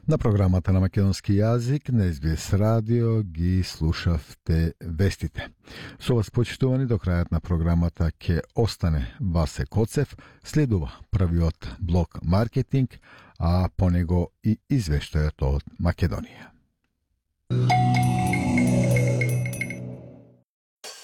На програмата на македонски јазик на SBS радио ги слушавте вестите. Со вас почитувани до крајот на програмата ќе остане Васе Коцев, следува првиот блок маркетинг, а по него и извештајот од Македонија.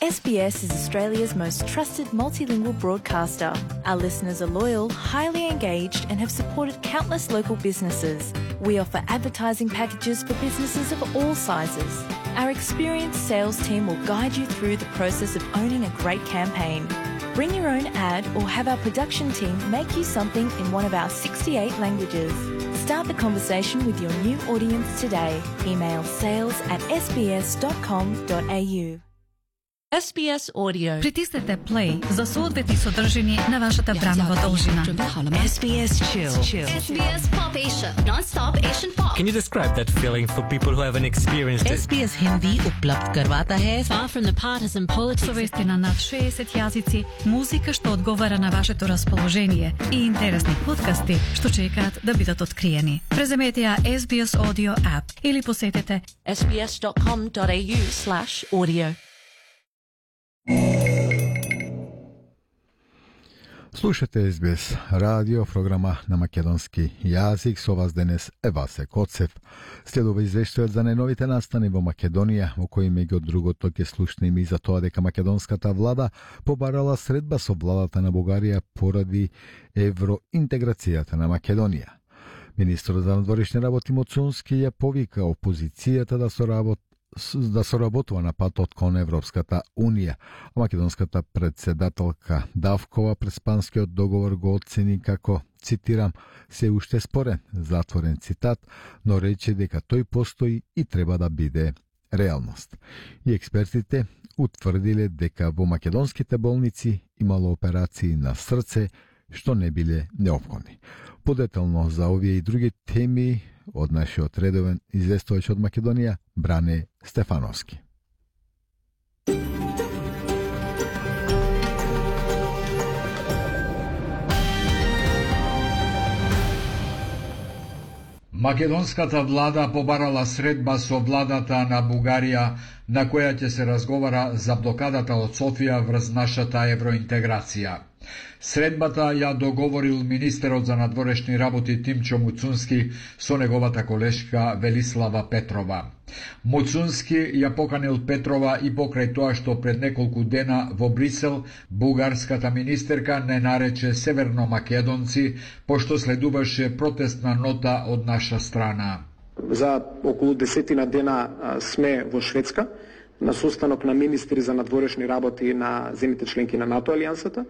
SBS is Australia's most trusted multilingual broadcaster. Our listeners are loyal, highly engaged, and have supported countless local businesses. We offer advertising packages for businesses of all sizes. Our experienced sales team will guide you through the process of owning a great campaign. Bring your own ad or have our production team make you something in one of our 68 languages. Start the conversation with your new audience today. Email sales@sbs.com.au. SBS Audio. Притиснете play за соодветни содржини на вашата бранова должина. SBS Chill. SBS Pop Asia. Non-stop Asian pop. Can you describe that feeling for people who haven't experienced it? SBS Hindi उपलब्ध करवाता है far from the partisan politics. Со вести на над 60 јазици, музика што одговара на вашето расположение и интересни подкасти што чекаат да бидат откриени. Преземете ја SBS Audio app или посетете sbs.com.au/audio. Слушате SBS радио, програма на македонски јазик. Со вас денес е Васе Коцев. Следува извештајот за најновите настани во Македонија, во кои меѓу другото ќе слушнеме и за тоа дека македонската влада побарала средба со владата на Бугарија поради евроинтеграцијата на Македонија. Министерот за надворешни работи Муцунски ја повика опозицијата да соработува на патот кон Европската Унија. А македонската председателка Давкова Преспанскиот договор го оцени како, цитирам, се уште спорен, затворен цитат, но рече дека тој постои и треба да биде реалност. И експертите утврдиле дека во македонските болници имало операции на срце што не биле неопходни. Подетално за овие и други теми од нашиот редовен известувач од Македонија, Бране Стефановски. Македонската влада побарала средба со владата на Бугарија, на која ќе се разговара за блокадата од Софија врз нашата евроинтеграција. Средбата ја договорил министерот за надворешни работи Тимчо Муцунски со неговата колешка Велислава Петрова. Муцунски ја поканил Петрова и покрај тоа што пред неколку дена во Брисел бугарската министерка не нарече северномакедонци, пошто следуваше протестна нота од наша страна. За околу 10 дена сме во Шведска на состанок на министри за надворешни работи на земјите членки на НАТО алијансата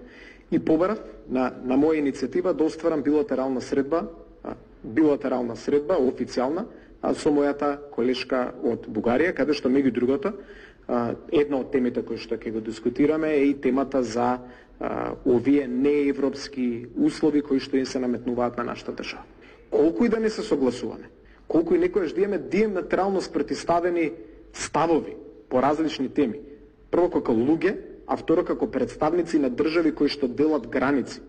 и побарав на моја иницијатива да остварам билатерална средба официјална со мојата колешка од Бугарија, каде што меѓу другото една од темите кои што ќе го дискутираме е и темата за овие неевропски услови кои што им се наметнуваат на нашата држава. Колку и да не се согласуваме, колку и некојаш да имаме диаметрално спротивставени ставови по различни теми, прво како луѓе, а второ како представници на држави кои што делат граници,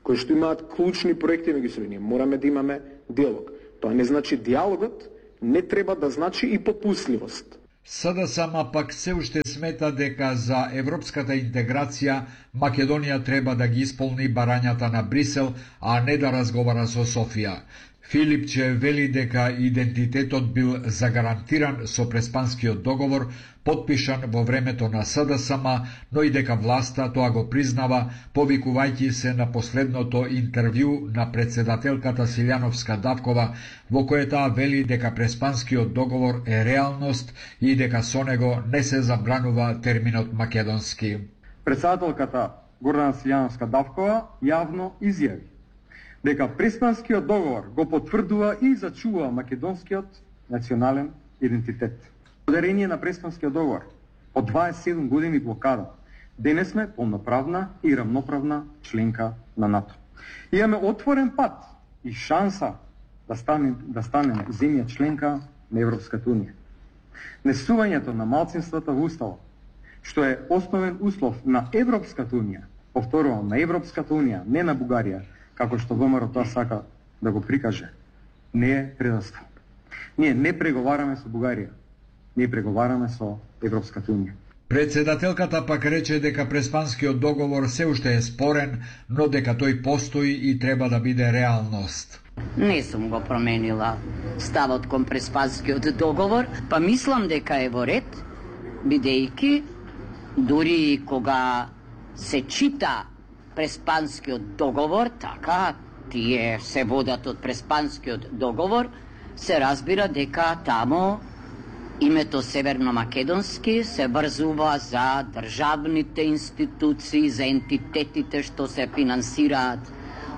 кои што имаат клучни проекти меѓу себе, ние мораме да имаме диалог. Тоа не значи диалогот, не треба да значи и попусливост. СДСМ пак се уште смета дека за европската интеграција Македонија треба да ги исполни барањата на Брисел, а не да разговара со Софија. Филипче вели дека идентитетот бил загарантиран со Преспанскиот договор, подпишан во времето на СДСМ, но и дека власта тоа го признава, повикувајќи се на последното интервју на председателката Силјановска Давкова, во кое таа вели дека Преспанскиот договор е реалност и дека со него не се забранува терминот македонски. Председателката Гордана Силјановска Давкова јавно изјави дека Преспанскиот договор го потврдува и зачува македонскиот национален идентитет. Благодарение на Преспанскиот договор, од 27 години блокада, денес сме полноправна и рамноправна членка на НАТО. Имаме отворен пат и шанса да станеме земја членка на Европската Унија. Несувањето на малцинствата во Уставот, што е основен услов на Европската Унија, повторувам, на Европската Унија, не на Бугарија, како што ВМРО тоа сака да го прикаже, не е предавство. Ние не преговараме со Бугарија. Ние преговараме со Европската унија. Председателката пак рече дека Преспанскиот договор се уште е спорен, но дека тој постои и треба да биде реалност. Не сум го променила ставот кон Преспанскиот договор, па мислам дека е во ред, бидејќи дури кога се чита Преспанскиот договор, така тие се водат од Преспанскиот договор, се разбира дека тамо името Северно-Македонски се врзува за државните институции, за ентитетите што се финансираат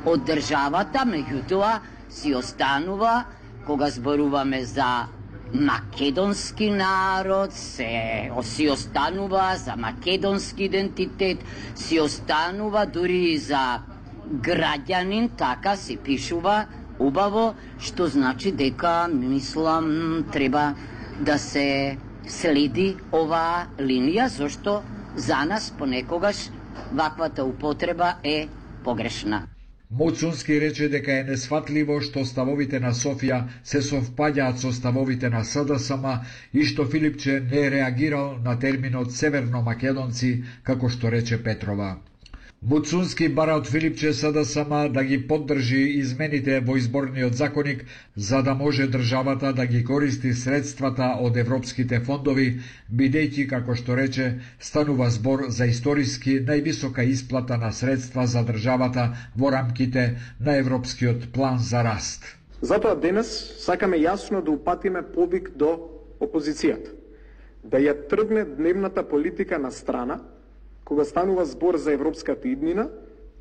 од државата, меѓутоа си останува, кога зборуваме за македонски народ, си останува за македонски идентитет, си останува дури и за граѓанин, така си пишува убаво, што значи дека, мислам, треба да се следи оваа линија, зашто за нас понекогаш ваквата употреба е погрешна. Моцунски рече дека е несфатливо што ставовите на Софија се совпаѓаат со ставовите на СДСМ и што Филипче не реагирал на терминот северно-македонци, како што рече Петрова. Моцунски бара од Филипче СДСМ да ги поддржи измените во изборниот законник, за да може државата да ги користи средствата од европските фондови, бидејќи, како што рече, станува збор за историски највисока исплата на средства за државата во рамките на Европскиот план за раст. Затоа денес сакаме јасно да упатиме повик до опозицијата, да ја тргне дневната политика на страна, кога станува збор за европската иднина,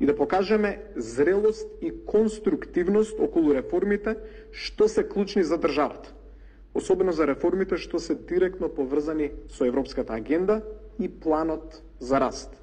и да покажеме зрелост и конструктивност околу реформите што се клучни за државата. Особено за реформите што се директно поврзани со европската агенда и планот за раст.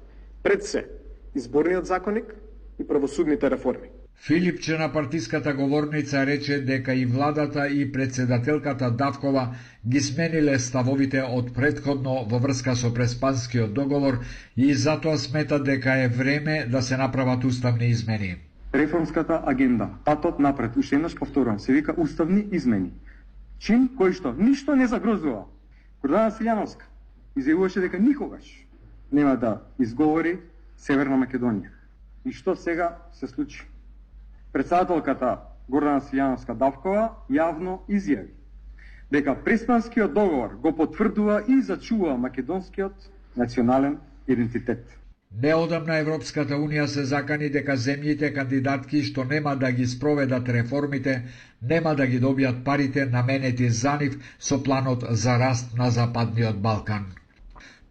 Пред се, изборниот законник и правосудните реформи. Филипче на партиската говорница рече дека и владата и председателката Давкова ги смениле ставовите од претходно во врска со Преспанскиот договор и затоа смета дека е време да се направат уставни измени. Реформската агенда, патот напред, уште еднаш повторувам, се вика уставни измени. Чин кој што ништо не загрозува. Гордана Силјановска изјавуваше дека никогаш нема да изговори Северна Македонија. И што сега се случи? Председателката Гордана Силјановска Давкова јавно изјави дека Преспанскиот договор го потврдува и зачува македонскиот национален идентитет. Неодамна Европската Унија се закани дека земјите кандидатки што нема да ги спроведат реформите, нема да ги добијат парите наменети за нив со планот за раст на Западниот Балкан.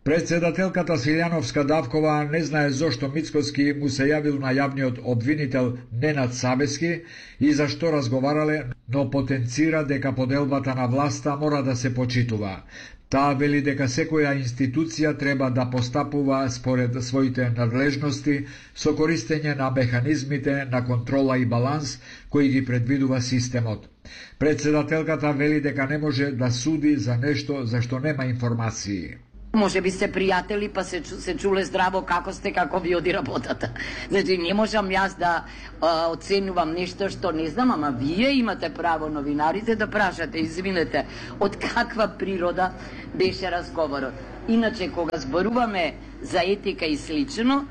Председателката Силјановска Давкова не знае зошто Мицкоски му се јавил на јавниот обвинител Ненад Савески и зашто разговарале, но потенцира дека поделбата на власта мора да се почитува. Таа вели дека секоја институција треба да постапува според своите надлежности со користење на механизмите на контрола и баланс кои ги предвидува системот. Председателката вели дека не може да суди за нешто за што нема информации. Може би сте пријатели, па се чуле здраво како сте, како ви оди работата. Значи, не можам јас да оценувам нешто што не знам, ама вие имате право, новинарите, да прашате, извинете, од каква природа беше разговорот. Иначе, кога зборуваме за етика и слично,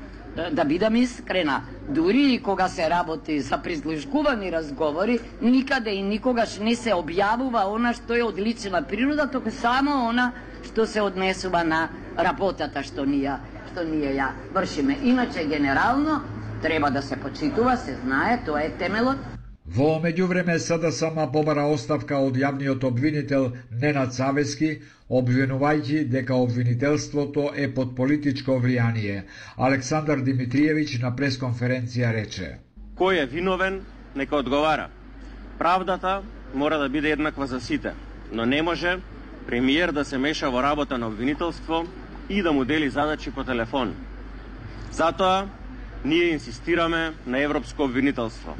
да бидам искрена, дури и кога се работи за прислушкувани разговори, никаде и никогаш не се објавува она што е од лична природа, току само она што се однесува на работата што ние ја вршиме. Иначе, генерално, треба да се почитува, се знае, тоа е темелот. Во меѓувреме СДСМ побара оставка од јавниот обвинител Ненад Савески, обвинувајќи дека обвинителството е под политичко влијание. Александар Димитриевиќ на пресконференција рече: Кој е виновен, нека одговара. Правдата мора да биде еднаква за сите, но не може премиер да се меша во работа на обвинителство и да му дели задачи по телефон. Затоа ние инсистираме на европско обвинителство.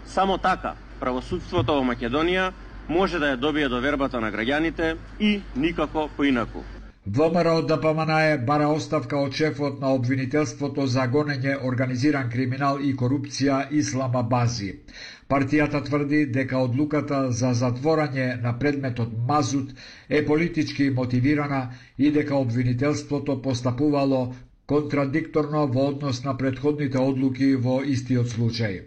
Само така правосудството во Македонија може да ја добие довербата на граѓаните и никако поинаку. ВМРО ДПМН бара оставка од шефот на обвинителството за гонење, организиран криминал и корупција Ислама Бази. Партијата тврди дека одлуката за затворање на предметот мазут е политички мотивирана и дека обвинителството постапувало контрадикторно во однос на претходните одлуки во истиот случај.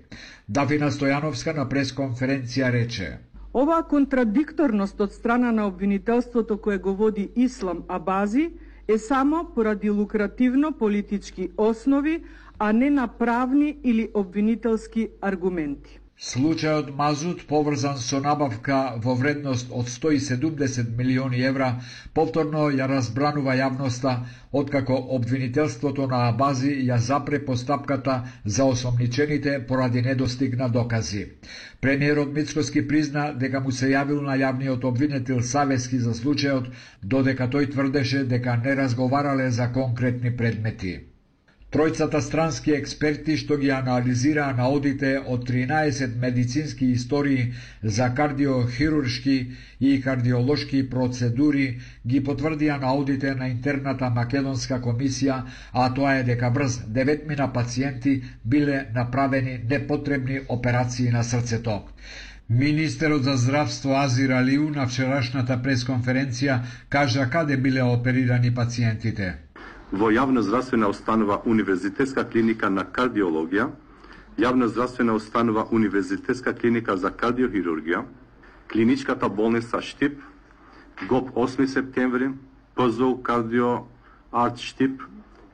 Дафина Стојановска на пресконференција рече: Оваа контрадикторност од страна на обвинителството кое го води Ислам Абази е само поради лукративно политички основи, а не на правни или обвинителски аргументи. Случајот Мазут, поврзан со набавка во вредност од 170 милиони евра, повторно ја разбранува јавноста, откако обвинителството на Абази ја запре постапката за осомничените поради недостиг на докази. Премиерот Мицкоски призна дека му се јавил на јавниот обвинител Савески за случајот, додека тој тврдеше дека не разговарале за конкретни предмети. Тројцата странски експерти што ги анализираа наодите од 13 медицински истории за кардиохируршки и кардиолошки процедури ги потврдија наодите на интерната македонска комисија, а тоа е дека врз 9 пациенти биле направени непотребни операции на срцето. Министерот за здравство Азир Алиу на вчерашната пресконференција кажа каде биле оперирани пациентите. Во јавна здравствена установа Универзитетска клиника на кардиологија, јавна здравствена установа Универзитетска клиника за кардиохирургија, клиничката болница Штип, ГОП 8 септември, ПЗУ Кардио Арт Штип,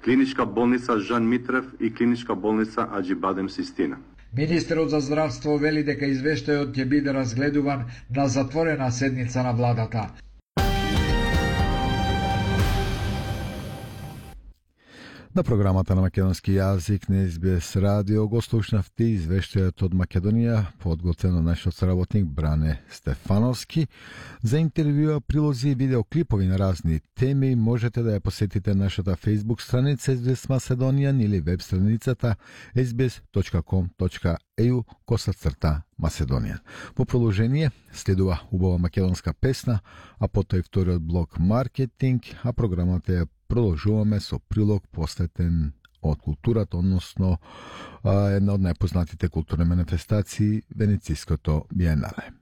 клиничка болница Жан Митрев и клиничка болница Аџибадем Систина. Министерот за здравство вели дека извештајот ќе биде разгледуван на затворена седница на владата. На програмата на македонски јазик на СБС радио го слушнавте извештајот од Македонија, подготвен од нашиот соработник Бране Стефановски. За интервјуа, прилози и видеоклипови на разни теми можете да ја посетите нашата Facebook страница SBS Macedonian или веб страницата sbs.com.au/Macedonian. По продолжение следува убава македонска песна, а потоа и вториот блок маркетинг, а програмата ја продолжуваме со прилог посветен од културата, односно една од најпознатите културни манифестации Венецијското биенале.